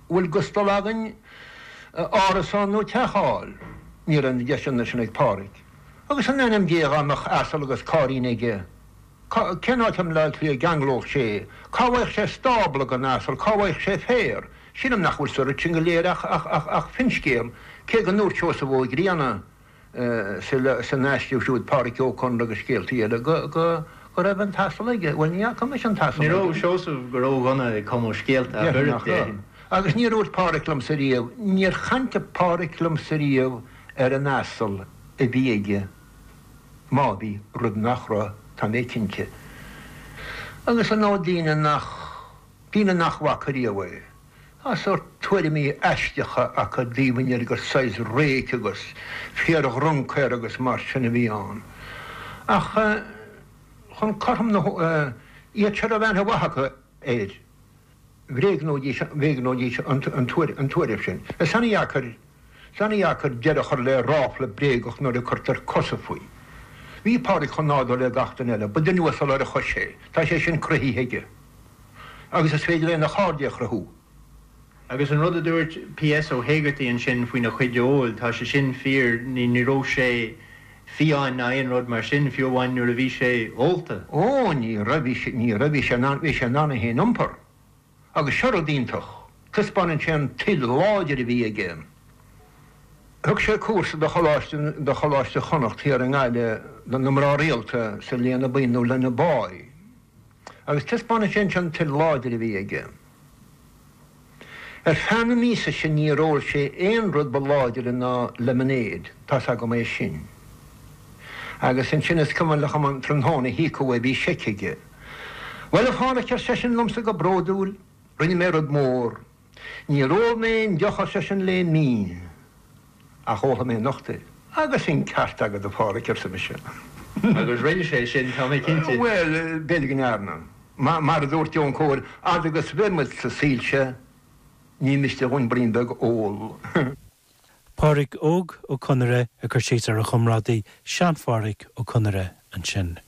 Bhfuil gustal againn árasán nó teach a fháil? Ní raibh na deiseanna sin ag Páraic. Agus in ainm Dé dhá mbeadh asal agus cairrín aige, cén áit i mBleá Cliath a gceanglódh sé é? Cá bhfaigheadh sé stábla don asal? Cá bhfaigheadh sé féar? Sílim nach bhfuil sa rud sin go léir ach finscéal, cé go ndúirt Seosamh Ó Grianna, san aiste siúd Pádraic Ó Conaire agus Scéaltaí Eile go raibh an t-asal aige. Bhuel, ní fhaca mise an t-asal aige. Ní raibh Seosamh go ródhona ag cumadh scéalta ach oiread, déarfainn. Agus níor dhúirt Pádraic liomsa riamh, níor chaint Pádraic liomsa riamh ar an asal a bhí aige, má bhí, rud nach raibh, tá mé cinnte. Agus ar ndóigh daoine nach, daoine nach bhfaca riamh é. Tá sórt tuairimí aisteacha acu i dtaobh an fhir gur saghas réic agus fíor-dhruncaer agus mar sin a bhí ann. Ach chun cothrom na, iad seo a raibh aithne mhaith acu air, bhréagnóidís, bhréagnóidís an tuairim sin. Is an-dheacair, is an-dheacair deireadh a chur le ráfla bréagach nuair a cuirtear cosa faoi. Bhí Pádraic chomh nádúrtha le gach duine eile. Ba duine uasal ar a chois é. Tá sé sin cruthaithe aige. Agus is féidir lena chairde a chruthú. Agus an rud a dúirt P.S. Ó hÉigeartaigh ansin faoina chuid óil, tá sé sin fíor, ní raibh sé fiáin ná aon rud mar sin, fiú amháin nuair a bhí sé ólta. Ó, ní raibh, bhí sé, ní raibh, bhí sé in ann, bhí sé in ann é féin a iompar. Agus seo rud iontach, taispeánann sé an toil láidir a bhí aige. Thug sé cúrsa do Choláiste, do Choláiste Chonnacht thiar i nGaillimh do na mná rialta sa Léana Buí nó Lenaboy. Agus taispeánann sé anseo an toil láidir a bhí aige. Ar feadh na míosa sin níor ól sé aon rud ba láidire ná lemonade, tá's agam é sin. Agus ansin is cuimhin liom an tráthnóna a híocadh é, bhí seic aige. Bhuel, a Pháraic, ar seisean liomsa go bródúil, rinne mé rud mór. Níor ól mé aon deoch, ar seisean, le mí. Ach ólfaidh mé anocht é. Agus an ceart agat, a Pháraic, arsa mise. Agus rinne sé sin, tá mé cinnte. Bhuel, b'fhéidir go ndearna. Mar a dúirt Eoin Cóir, fhad agus a bheidh muid sa saol seo, ní miste dhúinn braon beag ól. Pádraic Óg Ó Conaire ag cur síos ar a chomrádaí, Sean-Pháraic Ó Conaire ansin.